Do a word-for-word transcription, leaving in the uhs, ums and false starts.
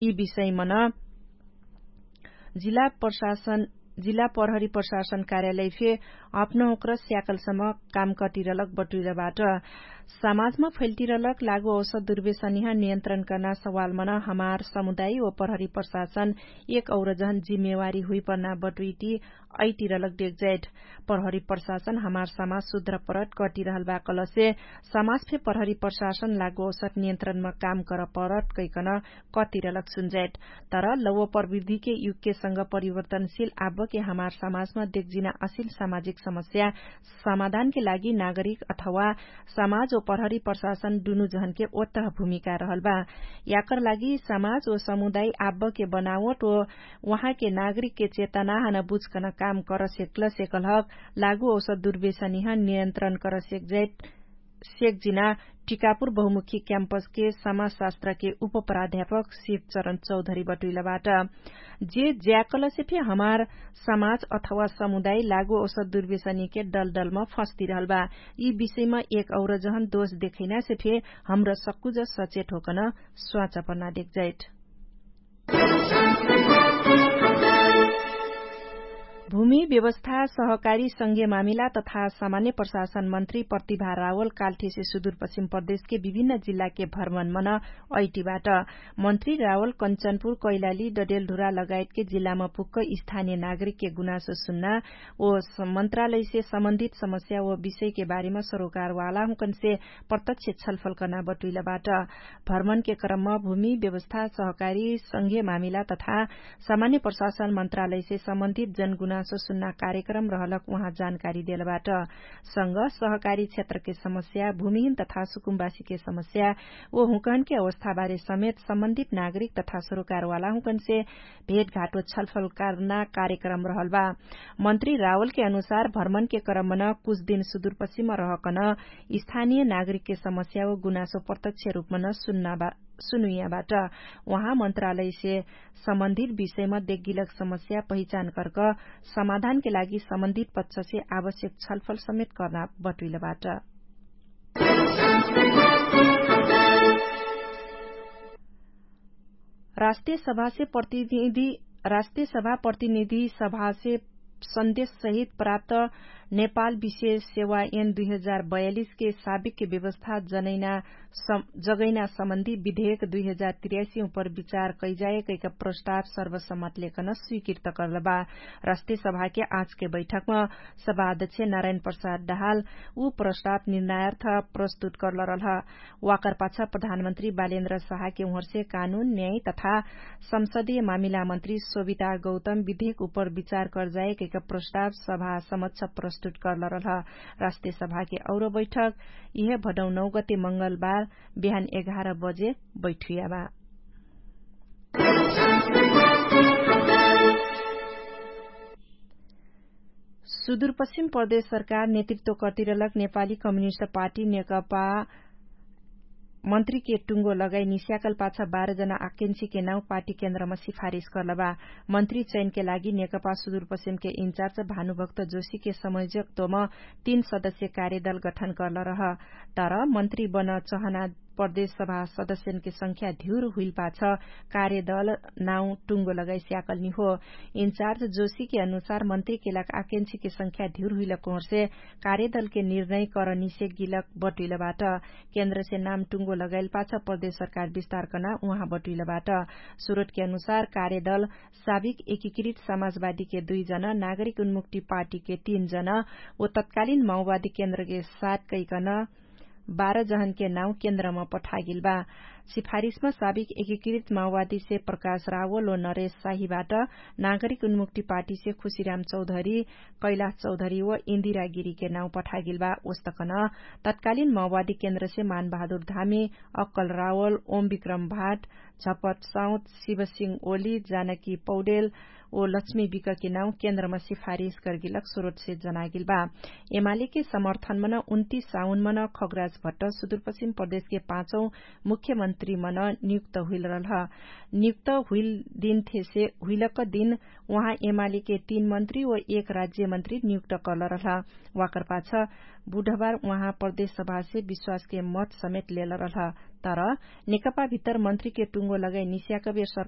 यि विषयमन जिल्ला प्रशासन जिल्ला प्रहरी प्रशासन कार्यालय फे अपनहुँक्र स्याकलसम्म काम कटिरलक बटुइलबाट। समाजमा फैल्टिरलक लागु औसत दुर्वेशनिह नियन्त्रण कर्ना सवालमन हमार समुदाय व प्रहरी प्रशासन एक और जहन जिम्मेवारी हुइपर्ना बटुइटी अइटिरलक डेकजैट। प्रहरी प्रशासन हमार समाज सुध्र परट कटिरहल बा कलसे समाज फे प्रहरी प्रशासन लागु औसत नियन्त्रणमा काम कर परट कैकन कतिरलक सुन्जैट। तर लौव प्रविधिके युगके संग परिवर्तनशील आब्बके हमार समाजमा देखजिना असिल सामाजिक समस्या समाधानके लागि नागरिक अथवा समाज व प्रहरी प्रशासन दुनु जहनके ओत्तह भूमिका रहल बा। याकर लागि समाज व समुदाय आब्बके बनावट व उहाँके नागरिकके चेतना हन बुझकन काम कर सेक्ल सेकलहक लागु औसत दुर्वेशनिह नियन्त्रण कर सेक्जैट सेक्जिना टिकापुर बहुमुखी क्याम्पसके समाजशास्त्रके उपप्राध्यापक शिवचरण चौधरी बटुइलबाट। जे ज्याकलसे फे हमार समाज अथवा समुदाय लागु औसत दुर्वेशनिके डलडलमा फस्तिरहल बा। यि विषयमा एक और जहन दोष देखैनासे फे हमरा सक्कुज सचेट होकन स्वाचा पर्ना देखजैट। भूमि व्यवस्था सहकारी संघीय मामिला तथा सामान्य प्रशासन मन्त्री प्रतिभा रावल काल्ठेसे सुदूरपश्चिम प्रदेशके विभिन्न जिल्लाके भ्रमणमन अइटिबाट। मन्त्री रावल कन्चनपुर कैलाली डडेलढुरा लगायतके जिल्लामा पुक्क स्थानीय नागरिकके गुनासो सुन्ना ओ मन्त्रालयसे सम्बन्धित समस्या ओ विषयके बारेमा सरोकारवाला हुँकनसे प्रत्यक्ष छलफल कर्ना बटुइलबाट। भ्रमणके क्रममा भूमि व्यवस्था सहकारी संघीय मामिला तथा सामान्य प्रशासन मन्त्रालयसे सम्बन्धित जनगुनासो सुन्ना कार्यक्रम रहलक उहाँ जानकारी देलबाट। संग सहकारी क्षेत्रके समस्या भूमिहीन तथा सुकुम्बासीके समस्या ओ हुँकहनके अवस्थाबारे समेत सम्बन्धित नागरिक तथा सरोकारवाला हुँकनसे भेटघाटो छलफल कर्ना कार्यक्रम रहल बा। मन्त्री रावलके अनुसार भ्रमणके क्रमन कुछ दिन सुदूरपश्चिम रहकन स्थानीय नागरिकके समस्या व गुनासो प्रत्यक्ष रूपमन सुनुइयाबाट। उहाँ मन्त्रालयसे सम्बन्धित विषयमा देखगिलक समस्या पहिचान कर्क समाधानके लागि सम्बन्धित पक्षसे आवश्यक छलफल समेत कर्ना बटुइलबाट। राष्ट्रिय सभासे प्रतिनिधि राष्ट्रिय सभा प्रतिनिधि सभासे सन्देश सहित प्राप्त नेपाल विशेष सेवा एन दुई हजार बयालिसके साबिकके व्यवस्था जगैना सम्बन्धी विधेयक दुई हजार तिरासी उपर विचार कैजाए कैका प्रस्ताव सर्वसम्मत लेखन स्वीकृत कर्ल बा। राष्ट्रिय सभाके आजके बैठकमा सभाध्यक्ष नारायण प्रसाद डहाल उ प्रस्ताव निर्णायर्थ प्रस्तुत कर्ल रहल। वाकर पाछ प्रधानमन्त्री बालेन्द्र साहके उहर्से कानुन न्याय तथा संसदीय मामिला मन्त्री सोभिता गौतम विधेक उपर विचार कर्जाए कैका प्रस्ताव सभा समक्ष प्रस्तुत कर्ल रहल। राष्ट्रिय सभाके और बैठक इहे भडौ नौ गते मंगलबार बिहान एघार बजे बैठुया बा। सुदूरपश्चिम प्रदेश सरकार नेतृत्व कर्तिरलक नेपाली कम्युनिस्ट पार्टी नेकपा मन्त्रीके टुङ्गो लगाइ निस्याकल पाछ बाह्र जना आकेन्सीके नाउ पार्टी केन्द्रमा सिफारिस कर्ल बा। मन्त्री चयनके लागि नेकपा सुदूरपश्चिमके इन्चार्ज भानुभक्त जोशीके समयोजकत्वम तीन सदस्य कार्यदल गठन कर्ल रह। तर मन्त्री बन चहना प्रदेश सभा सदस्यनके संख्या धिउर हुइल पाछ कार्यदल नाउ टुङ्गो लगाइ स्याकल निहो। इन्चार्ज जोशीके अनुसार मन्त्रीके लाग आकेन्सीके संख्या धिउर हुइल कोहरसे कार्यदलके निर्णय कर निसेक गिलक बटुइलबाट। केन्द्रसे नाम टुङ्गो लगाइल पाछ प्रदेश सरकार विस्तार कर्ना उहाँ बटुइलबाट। सुरोटके अनुसार कार्यदल साबिक एकीकृत समाजवादीके दुइ जन नागरिक उन्मुक्ति पार्टीके तीन जन ओ तत्कालिन माओवादी केन्द्रके साथ कैकन बाह्र जहनके नाउ केन्द्रमा पठागेल बा। सिफारिसमा साबिक एकीकृत माओवादीसे प्रकाश रावल ओ नरेश साहीबाट नागरिक उन्मुक्ति पार्टीसे खुशीराम चौधरी कैलाश चौधरी ओ इन्दिरा गिरीके नाउ पठागेल बा। ओस्तकन तत्कालिन माओवादी केन्द्रसे मानबहादुर धामी अक्कल रावल ओम विक्रम भाट झपट साउत शिवसिंह ओली जानकी पौडेल ओ लक्ष्मी विकके नाउ केन्द्रमा सिफारिस गर्गिलक सुरोटसे जनागिल बा। एमालेके समर्थनमन उन्तिस साउनमन खगराज भट्ट सुदूरपश्चिम प्रदेशके पाँचौ मुख्यमन्त्री मन्त्री मन नियुक्त हुइल रहलह। नियुक्त हुइल दिन थेसे हुइलक दिन उहाँ एमालीके तीन मन्त्री व एक राज्यमन्त्री नियुक्त करल रहलह। वाकरपाछ बुढबार उहाँ प्रदेशसभासे विश्वासके मत समेट लेल रहलह। तर नेकपाभित्तर मन्त्रीके टुङ्गो लगाइ निस्याकबेर सरकार